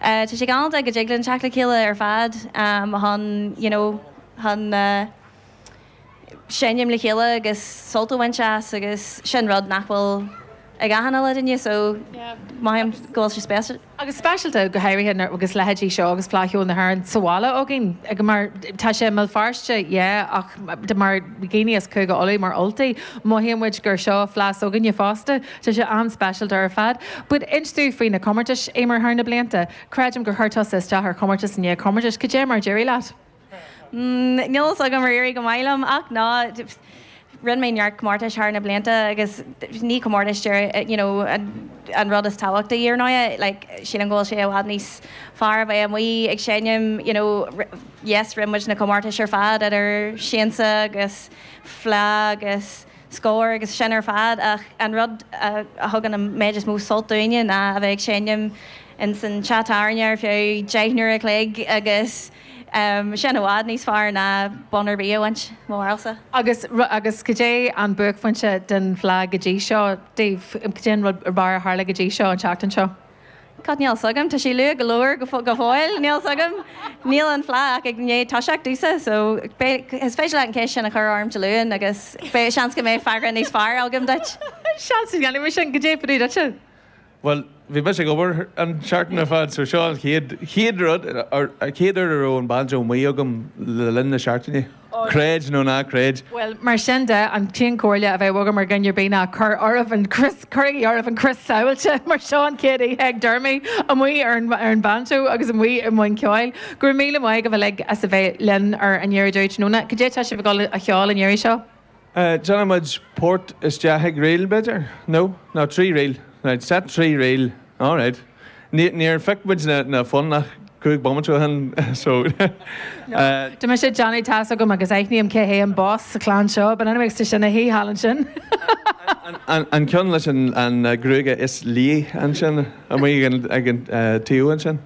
Tá sé galánta go dtig linn teacht le chéile ar fad chun you know chun seinm le chéile agus sult a bhaint as agus sin rud nach bhfuil ag achan uile duine so mothaím go bhfuil sé speisialta. Agus speisialta go háirithe nuair agus leithéidí seo agus Fleadh Cheoil na hÉireann sa bhaile againn ag mar tá sé i mBéal Feirste yeah ach mar dhaoine as Cúige Uladh mar Ultaigh mothaíonn muid gur seo fleadh s'againne fosta. Tá sé an-speisialta ar fad. But inis dúinn faoi na comórtais, Eimear, thar na blianta. Creidim gur chuir tusa isteach ar chomórtas i ndiaidh comórtais. Cad é mar d'éirigh leat? Níl fhios agam ar éirigh go maith liom ach ná rinne mé neart comórtais thar na blianta agus ní comórtais you know an rud is tábhachtaí ar ndóigh. Like sílim go bhfuil sé i bhfad níos fearr a bheith amuigh ag seinm you know yes rinne muid na comórtais ar fad idir Siansa agus Fleadh agus Scór agus sin ar fad ach an rud a thugann an méid is mó sult dúinne ná a bheith ag seinm ins an teach tábhairne ar feadh 10 n-uair a chloig agus sin i bhfad níos fearr ná bonn ar bith a bhaint, mo bharúilsa. Agus, agus cad é an buaicphointe den Fhleadh go dtí seo daoibh? Cad é an rud ab fhearr a tharla go dtí seo an tseachtain seo? God, níl fhios agam. Tá sé luath go leor go fóill. Níl fhios agam. Níl an Fleadh ach i ndiaidh toiseacht domhsa, so beidh, is féidir leat an cheist sin a chur orm Dé Luain agus beidh seans go mbeidh freagra níos fearr agam duit. Seans go ndéanfaidh mé sin. Cad é fá dtaobh duitse? Bhuel, bhí mise ag obair an tseachtain ar fad, so seo an chéad, chéad rud, an chéad uair a raibh an banjo amuigh agam le linn na seachtaine. Creid nó ná creid. Bhuel, mar sin de, an t-aon chomhairle a bheadh agam ar dhuine ar bith ná cuir oraibh an crios, cuirigí oraibh an crios sábháilte mar seo an chéad oíche ag Dermy amuigh ar an, ar an banjo agus amuigh i mbun ceoil. Go raibh míle maith agaibh uilig as a bheith linn ar Aniar Aduaidh Tráthnóna. Cad é atá sibh ag dul a cheol an iarraidh seo? Déanfaidh muid port isteach ag ríl, b'fhéidir? No? No, trí ríl. Right, set trí ríl. Alright. Níor phioc muid na foinn ach 5 bomaite ó shin, so. Tá mise ag déanamh tá's agam agus aithním cé hé an boss sa chlann seo, but anyway, tá sin ina shuí thall ansin. An ceann leis an gruaige is liath ansin, amuigh ag an taobh ansin.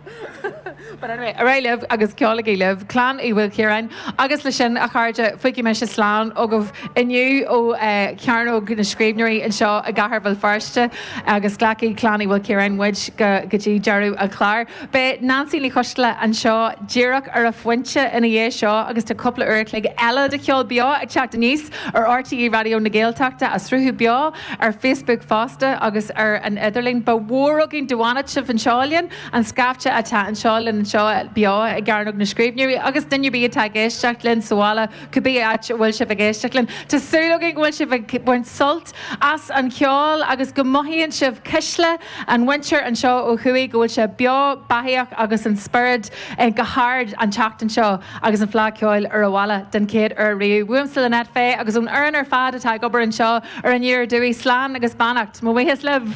But anyway, ar aghaidh libh agus ceolaigí libh, Clann Uí Mhaoilchiaráin. Agus le sin, a chairde, fágfaidh mise slán agaibh inniu ó Chearnóg na Scríbhneoirí anseo i gCathair Bhéal Feirste agus glacfaidh Clann Uí Mhaoilchiaráin muid go dtí deireadh an chláir. Beidh Neansaí Ní Choisdealbha anseo díreach ar a phointe ina dhiaidh seo agus tá cúpla uair a chloig eile de cheol beo ag teacht aníos ar RTÉ Raidió na Gaeltachta, á sruthú beo ar Facebook fosta agus ar an idirlíon. Ba mhór againn dá bhfanfadh sibh anseo linn. An scaifte atá anseo linn anseo beo i gCearnóg na Scríbhneoirí agus duine ar bith atá ag éisteacht linn sa bhaile, cibé áit a bhfuil sibh ag éisteacht linn. Tá súil againn go bhfuil sibh ag baint sult as an cheol agus go mothaíonn sibh cuisle an mhuintir anseo ó thuaidh, go bhfuil sé beo beathaíoch agus an spiorad go hard an tseachtain seo agus an Fleadh Ceoil ar an bhaile den chéad uair riamh. Uaimse Lynette Fay agus ón fhoireann ar fad atá ag obair anseo ar Aniar Aduaidh, slán agus beannacht. Mo bhuíochas libh.